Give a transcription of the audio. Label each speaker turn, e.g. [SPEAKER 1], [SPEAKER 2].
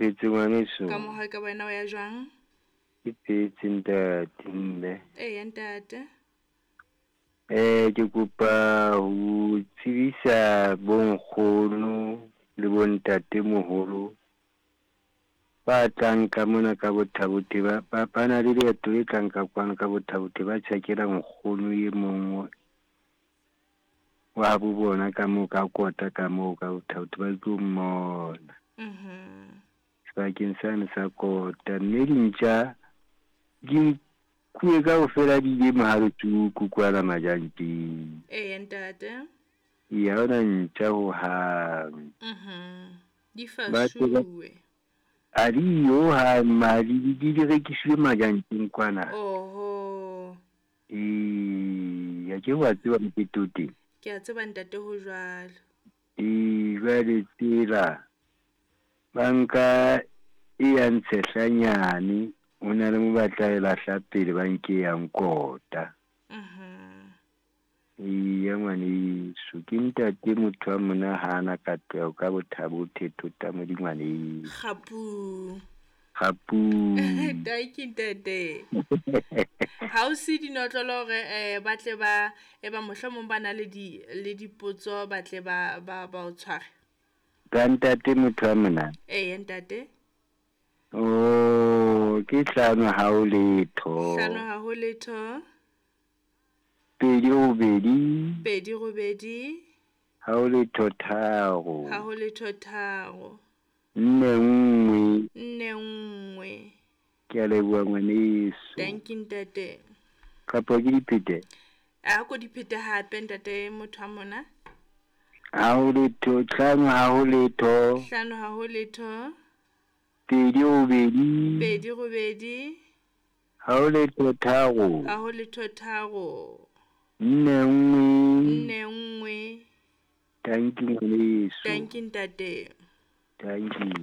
[SPEAKER 1] phetse ngwaneso.
[SPEAKER 2] Ka moha ka wena o ya jwang?
[SPEAKER 1] Ke phetse ntate mme.
[SPEAKER 2] Eya ntate.
[SPEAKER 1] Ke kopa ho tsebisa bonkgono le bontate moholo ba tlang ka mona ka Botha-Bothe ba na le leeto le tlang ka kwano ka Botha-Bothe ba tjhakela nkgono e mong wa bo bona ka moo ka kota ka moo ka Botha-Bothe ba tlo mmona. Sebakeng sane sa kota mme dintja di nkuwe kaofela di ile Mohaletsuku kwana Majanteng.
[SPEAKER 2] Eya ntate.
[SPEAKER 1] Ee, ha hona ntja hohang.
[SPEAKER 2] Di fasuwe.
[SPEAKER 1] A di yo hohang madi di rekisiwe Majanteng kwana.
[SPEAKER 2] Oho.
[SPEAKER 1] Ee, a ke wa tseba mokete o teng.
[SPEAKER 2] Ke a tseba ntate ho jwalo.
[SPEAKER 1] Ee, jwale tsela ba nka e yang Tshehlanyane ho na le mo ba tla e lahla pele ba nke yang kota. Eya ngwaneso, ke ntate motho wa mona hana katleho ka Botha-Bothe thota modi ngwaneso.
[SPEAKER 2] Kgapu.
[SPEAKER 1] Kgapu.
[SPEAKER 2] Dankie ntate. Ha o se dinotlolo hore ba tle ba e ba mohlomong ba na le di le dipotso ba tle ba ba ba o tshware.
[SPEAKER 1] Ka ntate motho wa mona.
[SPEAKER 2] Eya ntate.
[SPEAKER 1] Oh, ke hlano ha ho letho.
[SPEAKER 2] Hlano ha ho letho.
[SPEAKER 1] 2 8.
[SPEAKER 2] 2 8.
[SPEAKER 1] Ha ho letho 3.
[SPEAKER 2] Ha ho letho 3.
[SPEAKER 1] 4 1.
[SPEAKER 2] 4 1.
[SPEAKER 1] Ke a leboha ngwaneso.
[SPEAKER 2] Dankie ntate.
[SPEAKER 1] Kapa ke diphete?
[SPEAKER 2] A ko diphete hape ntate motho wa mona.
[SPEAKER 1] Ha ho letho 5 ha ho letho.
[SPEAKER 2] 5 ha ho letho.
[SPEAKER 1] 2 8.
[SPEAKER 2] 2 8.
[SPEAKER 1] Ha ho letho 3.
[SPEAKER 2] Ha ho letho 3.
[SPEAKER 1] 4 1.
[SPEAKER 2] 4 1.
[SPEAKER 1] Dankie ngwaneso.
[SPEAKER 2] Dankie ntate.
[SPEAKER 1] Dankie.